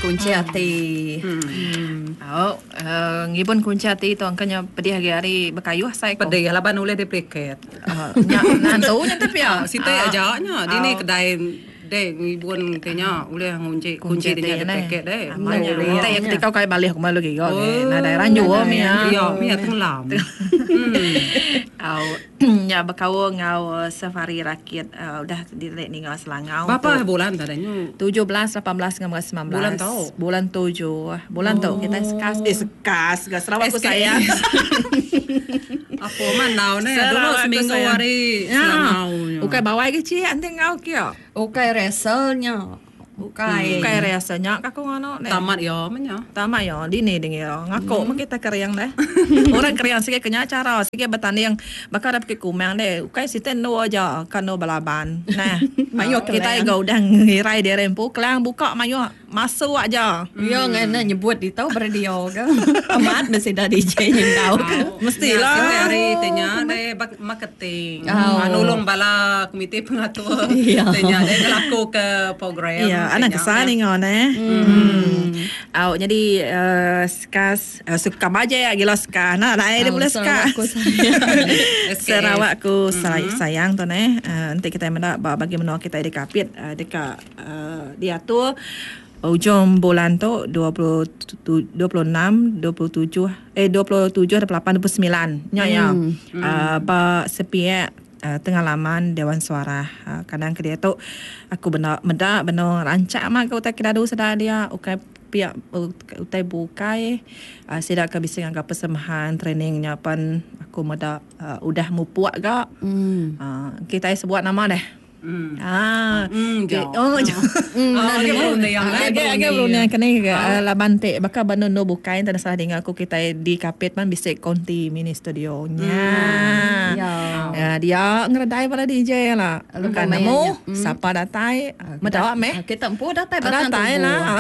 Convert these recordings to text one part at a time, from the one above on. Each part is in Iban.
Kunchi ati. Au ngibun kunchi ati tu angka nya pedih agi ari bekayuh asai ko. Pedih laban ulih dipliket. Nya nantu nya te pia. Siti aja nya dini kedai dek ngibun ti nya ulih ngunchi kunchi ti nya dipliket deh. Amat nya. Enti iya ketika kai balih ku malu giga ge nadai ranju mih. Iya mih tenggelam. Au nya bekaul enggau safari rakit udah diri ninga Selangau tu. Berapa bulan tadi nyu? 17, 18 enggau 19. Bulan tu. Bulan tujuh. Bulan tu kitai sekas eh sekas ga Sarawak ku sayang. Apo mandau neh dulu seminggu ari Selangau nya. Ukai bawai ke cik enti enggau kia. Ukai rehearsal nya. Ukai. Ukai rehearsal nya ka aku nganu neh. Tamat iya meh nya. Tamat iya dini dingira. Ngaku meh kita kering deh. Orang kering sigi ke nya chara sigi betanding baka da pekit kumang deh. Ukai siti endu aja ka endu belaban. Nah. Mayuh kelang. Kitai ga udah ngirai diri empu kelang buka mayuh. Masuk aja. Iya ngai enda nyebut ditu ba radio ke. Amat meh sida DJ nyengkau ke. Mestilah. Siti hari ti nya deh marketing. Nulung bala komiti pengatur ti nya deh ngelaku ke program. Iya anang kesal ninga neh. Au nyadi sekas suka baje gila seka nah dai dia bulih seka. Sarawak ku sayang tu neh enti kitai meda ba bagi menua kitai di Kapit deka Diatur ujung bulan tu 26, 27 eh 27, 28, 29 nya iya ba sepiak tengah laman Dewan Suarah. Kadang ke diatu aku benda meda benung rancak mah ke utai ke dadu sida dia ukai pia utai bukai sida ke bisi ngaga persembahan training nya pen aku meda udah mupuk ga. Kitai sebuat nama deh. Ah. Oh. Agi agi berunding ke ni laban ti baka ba endu bukai enti salah dinga aku kitai di Kapit pan bisi konti mini studio nya. Ya dia ngeredai bala DJ la. Bukan nemu sapa datai meda meh. Kita empu datai batang tubu. Datai lah.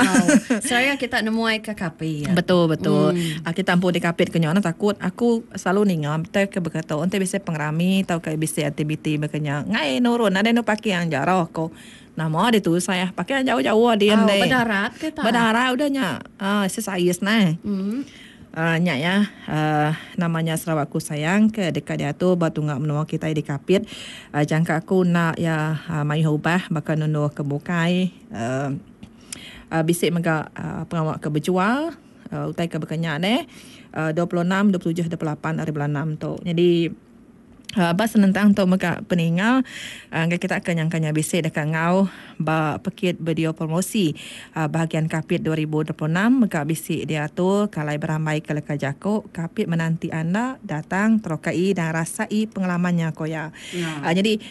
Seraya kita nemuai ke Kapit. Betul betul. Kita empu di Kapit ke nya takut aku Selalu ninga betai ke baka tu enti bisi pengerami tauka bisi aktiviti baka nya ngai nurun nadai anu parking jauh ko. Nama ditu usah parking jauh-jauh din Au deh. bedarat ke ta. Bedarat udah nya uhh sesais neh. Uhh nya iya uhh nama nya Sarawak Ku Sayang ke deka diatur ba tunga menua kitai di Kapit. Uhh jangka aku enda iya mayuh ubah baka nunduh ke bukai uhh bisi mega pengawa ke bejual. Utai ke baka nya neh 26, 27, 28 ari bulan enam tu. Nyadi ba senentang tu mega peninga ngagai kita ke nyangka nya bisi deka enggau ba pekit video promosi bahagian Kapit 2026 mega bisi diatur ke alai berambai ke leka jaku Kapit Menanti Anda Datang Terokai dan Rasai Pengalaman nya ko iya. Nyadi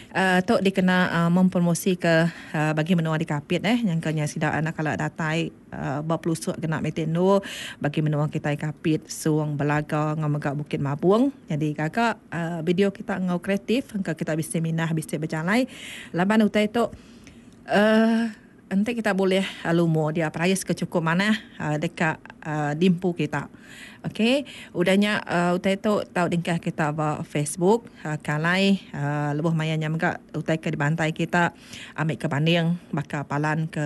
tu dikena mempromosika bagi menua di Kapit eh nyangka nya sida anak kala datai. Ba pelusuk kena miti endur bagi menua kitai Kapit, Song, Belaga enggau mega Bukit Mabong. Nyadi gaga video kita enggau kreatif engka kita bisi mindah bisi bejalai laban utai tu uhh enti kita bulih lumur dia perais ke chukup manah deka diempu kita. Ok udah nya utai tu tau dingkah kita ba Facebook ke alai lebuh maya nya mega utai ke dibantai kita. Ambi ke banding baka palan ke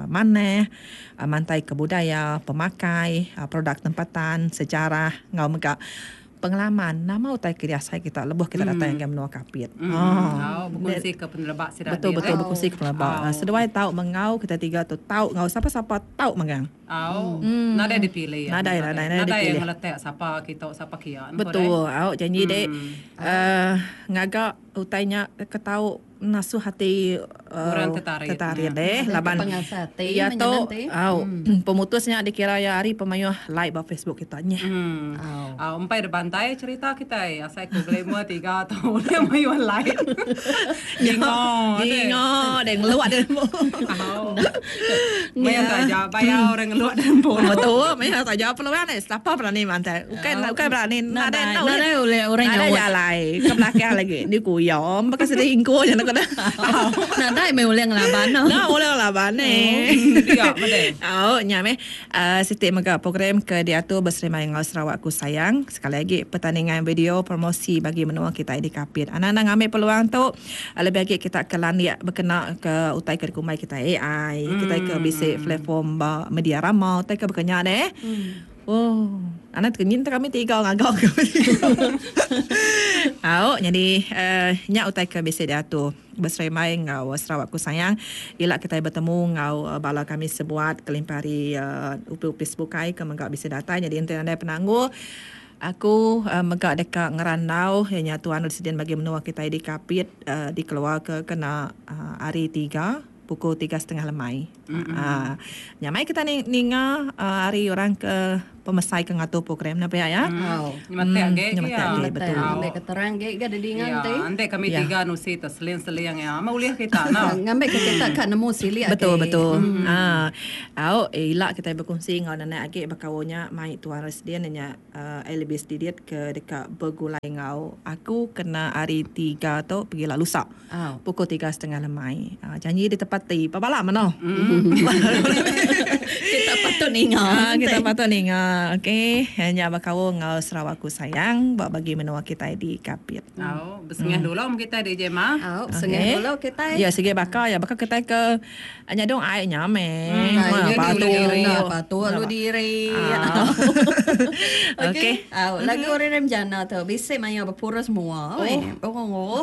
manah, mantai ke budaya, pemakai, produk tempatan, sejarah enggau mega pengalaman nama utai ke diasai kita lebuh kita datai ngagai menua Kapit. Au bekunsi ke peneleba sida Betul betul bekunsi ke peneleba. Seduai tau mengau kita tiga tu tau enggau sapa-sapa tau megang. Au nadai dipilih. Nadai nadai nadai dipilih. Nadai ngeletak sapa kitu sapa kia. Betul au janji dek ngaga utai nya ke tau Ngasuh ati Orang tertarik. Tertarik deh laban Pengasa ati iya meh tu nyenang ti. au pemutus nya dikira iya ari pemayuh like ba Facebook kita nyeh. Hmm. Au. Au empai da bantai cerita kitai asai ku glamour tiga tu ulih mayuh like. Dingo deh. Dingo deh ngeluak deh empu. Au. Mayuh taja bayar orang ngeluak deh empu. Betul mayuh taja peluang deh sapa berani mantai. Ukai ukai berani nadai Nadai ulih orang Nadai nyaut. jalai ke belakang lagi ni ku. Iya, baka sida ingku nya ku dah. Nadai meh ulih ngelaban. Enda ulih ngelaban eh. Dia meh. Au nya meh siti mega program ke diatur beserimbai enggau Sarawakku Sayang. Sekali agi pertandingan video promosi bagi menua kitai di Kapit. Anang-anang ngambi peluang tu lebih agi kita ke landik bekena ke utai ke dikumbai kitai AI, kitai ke bisi platform ba media rama utai ke baka nya deh. Oh, anak tekenyit enta kami tiga ngaga ke. Au, nyadi uh, nya utai ke bisi diatur beserimbai enggau Sarawakku Sayang. Ila kitai betemu enggau uh, bala kami sebuat kelimpah ari uh, upis-upis bukai ke mega bisi datai. Nyadi enti nadai penanggul, aku uh, mega deka ngerandau iya nya Tuan Residen bagi menua kitai di Kapit uh, dikeluarka kena uh, hari tiga pukul tiga setengah lemai. Mm-hmm. Nyamai kita ninga ari orang ke pemesai ke ngatur program ne pia ya. Mm. Nyemetak agi Nyemetak agi betul. Ngambi ke terang agi ga didinga enti. Enti kami tiga nusi tu seling-seling ya. Amat ulih kita no. Ngambi ke kita ka nemu silik agi. Betul betul. Ha. Au ila kitai bekunsi enggau nenek agi bekaul nya mai Tuan Residen nya Elvis Didit ke deka begulai enggau aku kena hari tiga tu pegila lusa. Pukul tiga setengah lemai. Janji ditepati. Pebala menoh. Kita patut ninga. Kita patut ninga. Okey. Nya bekaul enggau Sarawakku Sayang ba bagi menua kitai di Kapit. Au, besengah dulu meh kitai DJ Ma. Au, besengah dulu kitai. Ya sigi baka ya baka kitai ke nyadung ai nya meh. Patu. Patu lalu diri. Okey. Au, lagu Rerem Jana tu bisi maya bepurus mua. Oh. Oh.